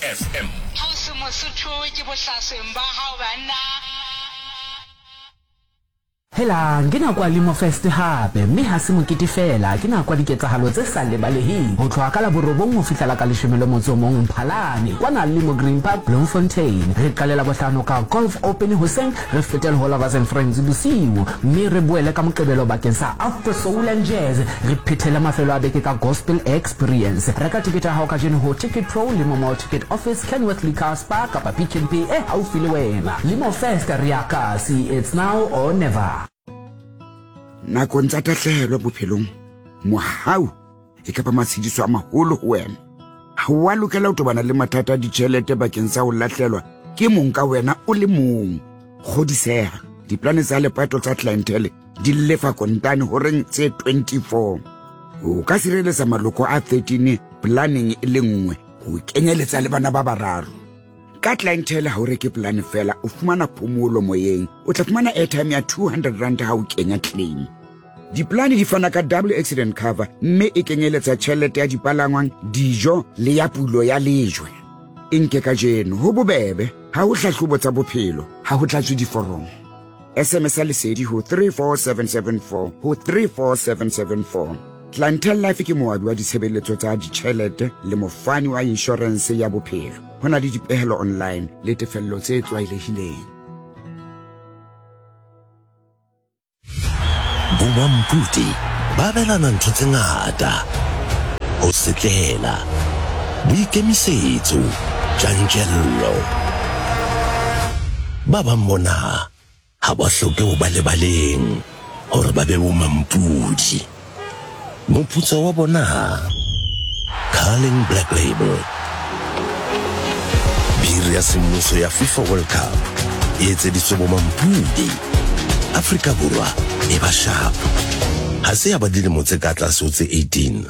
FM. Ausi Mosotho ke bohlasweng ba hao banna. Helang, ke nako ya Limo Fest hape, mme ha se mokete feela, ke nako ya diketsahalo tse sa lebaleheng. Ho tloha ka la borobong ho fihla la ka leshome le motso o mong Mphalane, kwana Limo Green Park, Bloemfontein. Re qale Labohlano ka Golf Open hoseng, re fete le ho Lovers and Friends bosiu, mme re boele ka Moqebelo bakeng sa Afro Soul and Jazz. Re phethele mafelo a beke ka Gospel Experience. Reka tekete ya hao kajeno ho Ticket Pro, Limo Mall Ticket Office, Kenworth Liquor Spar kapa Pick n Pay e haufi le wena. Limo Fest re ya kasi, it's now or never. Nakong tsa tahlehelo bophelong, mohau e ka ba matshediso a maholo ho wena. Ha o a lokela ho tobana le mathata a ditjhelete bakeng sa ho lahlelwa ke mong ka wena o le mong. Kgodiseha, diplane tsa lepato tsa clientele di lefa kontane horeng tse 24. O ka sireletsa maloko a 13 planeng e le nngwe ho kenyeletsa le bana ba bararo. Ka clientele ha o reke polane fela, o fumana phomolo moyeng. O tla fumana airtime ya 200 rand ha o kenya claim. Diplane di fana ka double accident cover mme e kenyeletsa tjhelete ya dipalangwang, dijo le ya pulo ya lejwe. E nke kajeno, ho bobebe, ha ho hlahlobo tsa bophelo, ha ho tlatswe diforomo. SMS ya Lesedi ho 34774 ho 34774. Clientele Life ke moabi wa ditshebeletso tsa ditjhelete le mofani wa inshorense ya bophelo. Ho na le dipehelo online le tefello tse tlwaelehileng. Bomampudi ba abelana ntho tse ngata, ho setlela, boikemisetso, tjantjello. Ba bang bona ha ba hloke ho ba lebaleng hore ba be bomampudi. Moputso wa bona? Carling Black Label. Biri ya semmuso ya FIFA World Cup e etseditswe bomampudi. Afrika Borwa e ba sharp. Ha se ya ba dilemo tse ka tlase ho tse 18.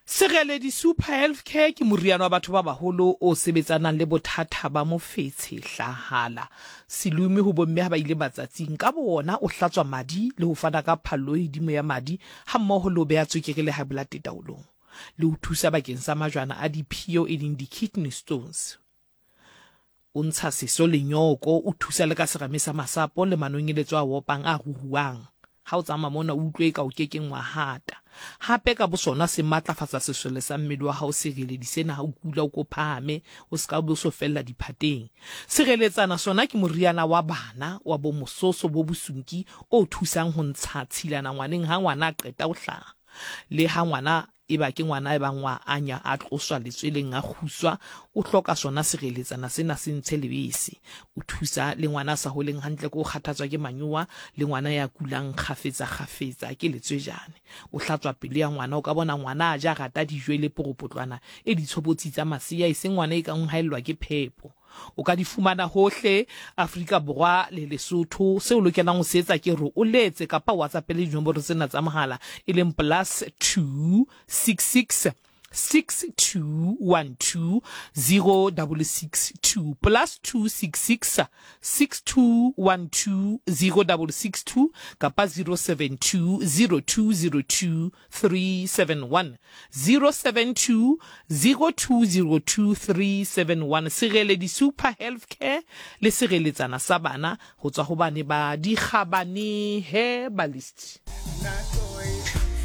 Sereledi Super Health Care ke moriana wa batho ba baholo o sebetsanang le bothata ba mofetshe, hlahala, selume ho bomme ha ba ile matsatsing. Ka bowona o hlatswa madi le ho fana ka phallo e hodimo ya madi hammoho le ho beha tswekere le high blood taolong le ho thusa bakeng sa majwana a diphio e leng di-kidney stones. O ntsha seso le nyooko, o thusa le ka serame sa masapo le manonyeletso a opang a ruruang. Ha o tsamaya mona o utlwe eka o ke keng wa hata. Hape ka bosona se matlafatsa sesole sa mmele wa hao sereledi sena ha o kula o ko phahame o se ka be o so fella diphateng. Sireletsana sona ke moriana wa bana wa bo mososo bo bosunki o thusang ho ntsha tshilana ngwaneng ha ngwana a qeta ho hlaha le ha ngwana Eba ke ngwana ebang wa anya a tloswa letsweleng a kguswa, o hloka sona sireletsana sena se ntshe lebese. O thusa le ngwana a sa holeng hantle ke ho kgathatswa ke manyowa le ngwana ya kulang kgafetsa kgafetsa ke letswejane. O hlatswa pelo ya ngwana, o ka bona ngwana a ja a rata dijo e le poropotlwana e ditshobotsi tsa masea eseng ngwana e kang o haellwa ke phepo. O ka di fumana hohle Afrika Borwa le Lesotho. Seo o lokelang ho se etsa ke hore o letse kapa o WhatsAppele dinomoro tsena tsa mohala e leng plus 266 6212 0662 plus 266 6212 0662 kapa 072 0202 371 072 0202 371 Sireledi Super Health Care le sireletsana sa bana ho tswa ho bane ba Dikgabane Herbalist.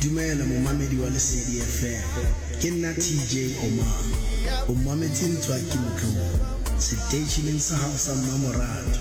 Dumela momamedi wa Lesedi FM. Ke nna TJ Omar. O mametse Ntswaki Motlou seteisheneng sa hao sa mmamoratwa.